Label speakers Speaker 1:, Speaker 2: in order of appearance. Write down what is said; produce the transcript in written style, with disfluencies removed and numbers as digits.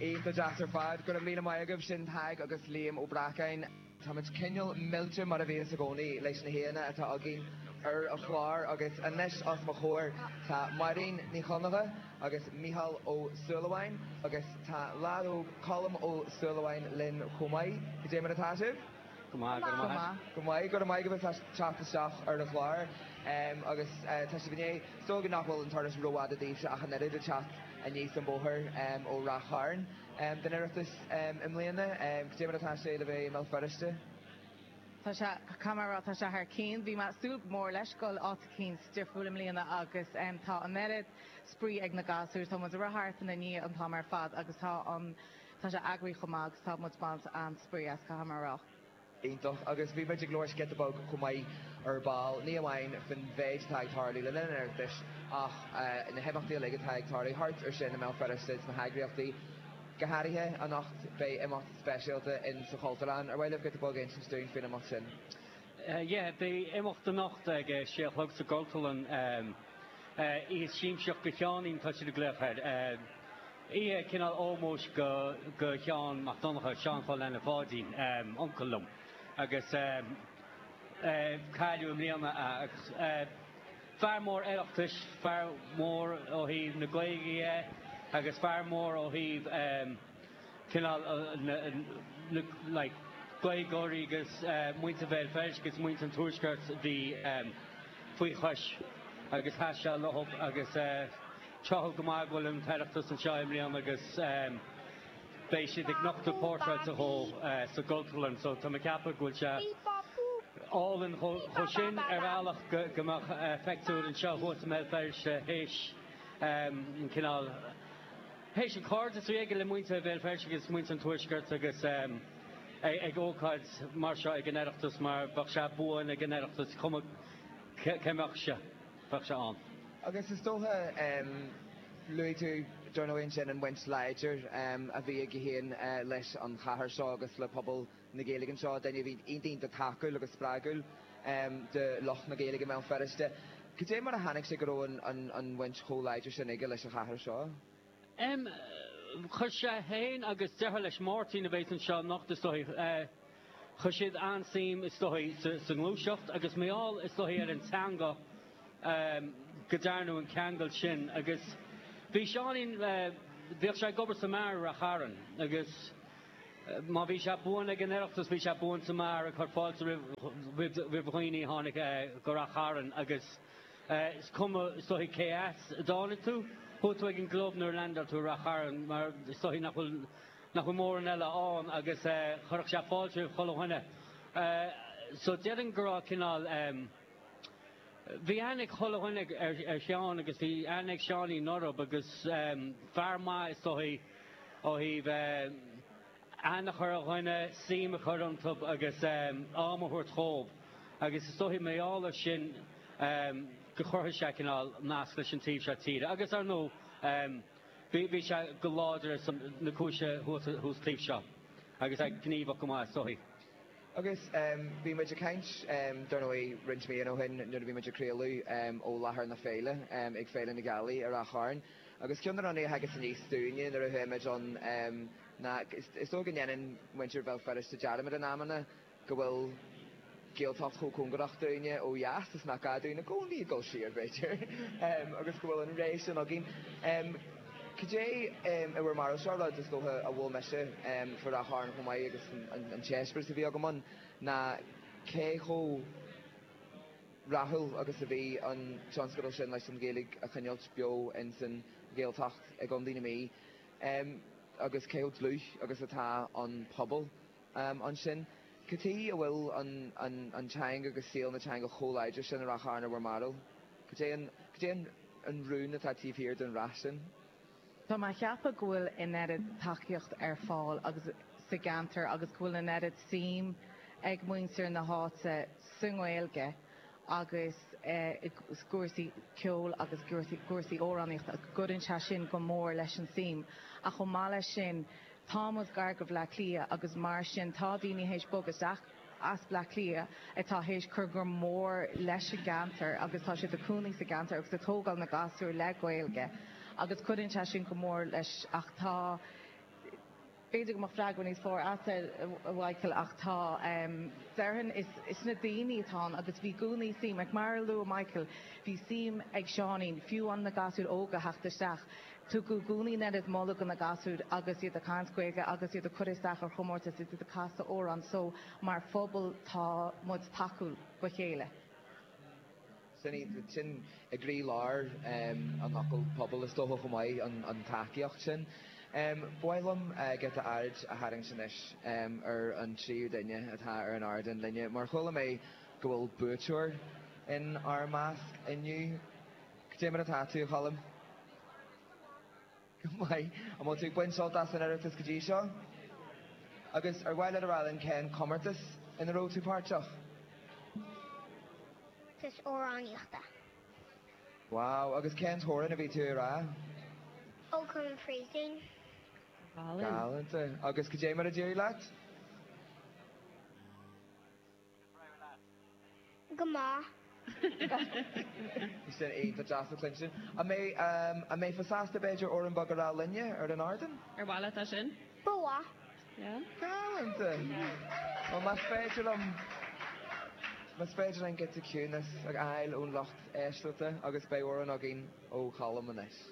Speaker 1: Iontach deas ar fad. Go raibh míle maith agaibh. Sin Tadhg agus Liam Ó Breacáin. Táimid cineál millte mar a bhíonns i gcónaí leis na haíonna atá againn ar an chlár agus anois os mo chomhair tá Máirín Ní Chonchubhair agus Mícheál Ó Súilleabháin agus tá leaid óg Colm Ó Súilleabháin linn chomh maith. Cad é mar atá sibh?
Speaker 2: Go maith, go raibh maith agat.
Speaker 1: Go maith, go raibh maith agaibh as teacht isteach ar an chlár agus tá sibh i ndiaidh, is dóigh nach bhfuil an turas rófhada daoibhse ach an oiread ag teacht aníos an bóthar ó Ráth Chairn don Oireachtas i mbliana. Cad é mar atá sé le bheith i mBéal Feirste?
Speaker 3: Tá sé, caithfidh mé a rá, tá sé thar cionn. Bhí mé ag súil go mór leis dul áit eicínt difriúil i mbliana agus tá an oiread spraoi ag na gasúir. Tá muid ag rith thart ina ndiaidh an t-am ar fad agus tá an, tá sé eagraithe chomh maith agus tá muid ag baint an-spraoi as, caithfidh mé a rá.
Speaker 1: Iontach. Agus bhí muid ag labhairt giota beag chomh maith ar ball, ní amháin faoin mhéid atá ag tarlú le linn an Oireachtais ach na himeachtaí uilig atá ag tarlú thart ar sin i mBéal Feirste, sna heagraíochtaí. Go háirithe anocht beidh imeacht speisialta in sa Chultúrlann. Ar mhaith libh giota beag a insint dúinn faoin imeacht sin?
Speaker 2: Yeah, beidh imeacht anocht ag a sé a chlog sa gCultúrlann. Oíche Siamsaíocht do Sheáinín tá siad ag glaoch air. Oíche cineál ómóis go go Sheán Mac Donncha, Seán Chóil Anna Pháidín, uncail liom, agus cailleadh i mbliana é agus fear mór Oireachtais, fear mór ó thaobh na Gaeilge dhe agus fear mór ó thaobh cineál na like Gaeilgeoirí agus muintir Bhéal Feirste agus muintir an Tuaiscirt a bhí faoi chois agus sheas sé leo agus tráthúil go maith go bhfuil an tOireachtas anseo i mbliana agus beidh siad ag nochtadh portráide dhó sa gCultúrlann so tá mé ag ceapadh go bhfuil sé álainn chomh sin ar bhealach go mbeadh peictiúr anseo thuas i mBéal Feirste théis an cineál Théis an cairdeas a bhí aige le muintir Bhéal Feirste agus muintir an Tuaiscirt agus ag ócáid mar seo ag an Oireachtas mar bheadh sé buan ag an Oireachtas cuma cé mbeadh sé, bheadh sé ann.
Speaker 1: Agus is dócha, luaigh tú dar ndóigh ansin an bhaint láidir a bhí aige féin leis an chathair seo agus le pobal na Gaeilge anseo, duine a bhí iontach iontach tacúil agus spreagúil do lucht na Gaeilge i mBéal Feirste. Cad é mar a tháinig sé go raibh an bhaint chomh láidir sin aige leis an chathair seo?
Speaker 2: M, Chuir sé féin agus deartháir leis, Máirtín, a bheas anseo anocht is dóigh, chuir siad an-suim is dóigh sa ngluaiseacht agus mar gheall is dóigh ar an teanga go dtearnadh an ceangal sin agus bhí Seáinín, bhíodh sé ag obair sa mbeár i Rath Chairn agus Má bhí sé buan ag an Oireachtas, bhí sé buan sa mbeár ag cur fáilte roimh dhaoine a tháinig go Rath Chairn agus is cuma is dóigh cé as a dtáinig tú, chuaigh tú ag an gclub nuair a leaindeáil tú i Rath Chairn mar is dóigh nach bhfuil nach bhfuil mórán eile ann agus chuirfeadh sé fáilte roimh chuile dhuine. So déarfainn go raibh cineál bhí aithne ag chuile dhuine ar Sheán agus bhí aithne ag Seáinín orthu agus fear maith is dóigh ó thaobh aithne a chur ar dhuine, suim a chur iontu agus am a thabhairt dhóibh agus is dóigh mar gheall air sin go chruthaigh sé cineál nasc leis an taobh seo tíre agus ar ndóigh bhí sé go láidir ar son na cúise thuas taobh seo agus é gníomhach go maith is dóigh.
Speaker 1: Agus bhí muid ag caint, dar ndóigh, roinnt míonna ó shin nuair a bhí muid ag craoladh ó láthair na féile ag Féile na Gealaí i Ráth Chairn. Agus ceann de na rudaí a thagas aníos dúinne nuair a chuaigh muid ann ná is dóigh go ndéanann muintir Bhéal Feirste dearmad in amanna go bhfuil Gaeltacht chomh cóngarach dúinne ó dheas is nach gá dúinn i gcónaí dul siar, b'fhéidir, agus go bhfuil an ré sin againn. Cad é i bhur mbarúil? Seo rud is dócha a mhol mise faoi Ráth Chairn chomh maith agus an t-eispéireas a bhí agam ann ná cé chomh rathúil agus a bhí an tionscadal sin leis an Ghaeilge a choinneáilt beo ins an Ghaeltacht i gContae na Mí agus cé chomh dlúth agus atá an pobal ansin. Cad chuige a bhfuil an teanga agus saol na teanga chomh láidir sin i Ráth Chairn i bhur mbarúil? Cad é an, cad é an rún atá taobh thiar den rath sin?
Speaker 3: Tá mé a cheapadh go bhfuil an oiread tacaíocht ar fáil agus sa gceantar agus go bhfuil an oiread suim ag muintir na háite sa nGaeilge agus i gcúrsaí ceoil agus cúrsaí amhránaíochta go gcuireann sé sin go mór leis an suim. Ach chomh maith leis sin, Tá muid gar go Bhleá Cliath agus mar sin tá daoine théis bogadh isteach as Bleá Cliath atá théis cur go mór leis an gceantar agus tá siad ag cónaí sa gceantar agus ag tógáil na gasúir le Gaeilge agus cuireann sé sin go mór leis ach tá. B'fhéidir go mbeadh freagra níos fearr agat, a Mhichael, ach tá, déarfainn, is na daoine atá ann agus bhí i gcónaí suim, like mar a luaigh Michael, bhí suim ag Seáinín, fiú an na gasúir óga a theacht isteach, tugadh i gcónaí an oiread moladh do na gasúir agus iad ag caint Gaeilge agus iad ag cur isteach ar chomórtais, iad ag casadh amhrán, so mar phobal tá muid tacúil do chéile.
Speaker 1: Sin iad, sin i gcroílár an fhocail pobal is dócha chomh maith, an tacaíocht sin. Ba mhaith liom giota aird a tharraingt anois ar an tríú duine atá ar an ardán linne, mar chuala mé go bhfuil buaiteoir in ár measc inniu. Cad é mar atá tú, a Choilm? Go maith. An bhfuil tú ag baint sult as an Oireachtas go dtí seo? Agus ar mhaith leat a rá linn cén comórtas ina raibh tú páirteach?
Speaker 4: Comórtas amhránaíochta.
Speaker 1: Wow, agus cén t-amhrán a bhí tú a rá?
Speaker 4: Ó Come an Phríosúin.
Speaker 1: Galánta. Agus cad é mar a d'éirigh leat?
Speaker 4: Go maith.
Speaker 1: Bhí sin iontach deas le cluinstin. An mbeidh, an mbeifeá sásta b'fhéidir amhrán beag a rá linne ar an ardán?
Speaker 5: Ar mhaith leat é sin?
Speaker 4: Ba mhaith.
Speaker 5: Yeah.
Speaker 1: Galánta! Bhuel, más féidir liom, más féidir linn giota ciúnas a fháil ón lucht éisteachta agus beidh amhrán againn ó Cholm anois.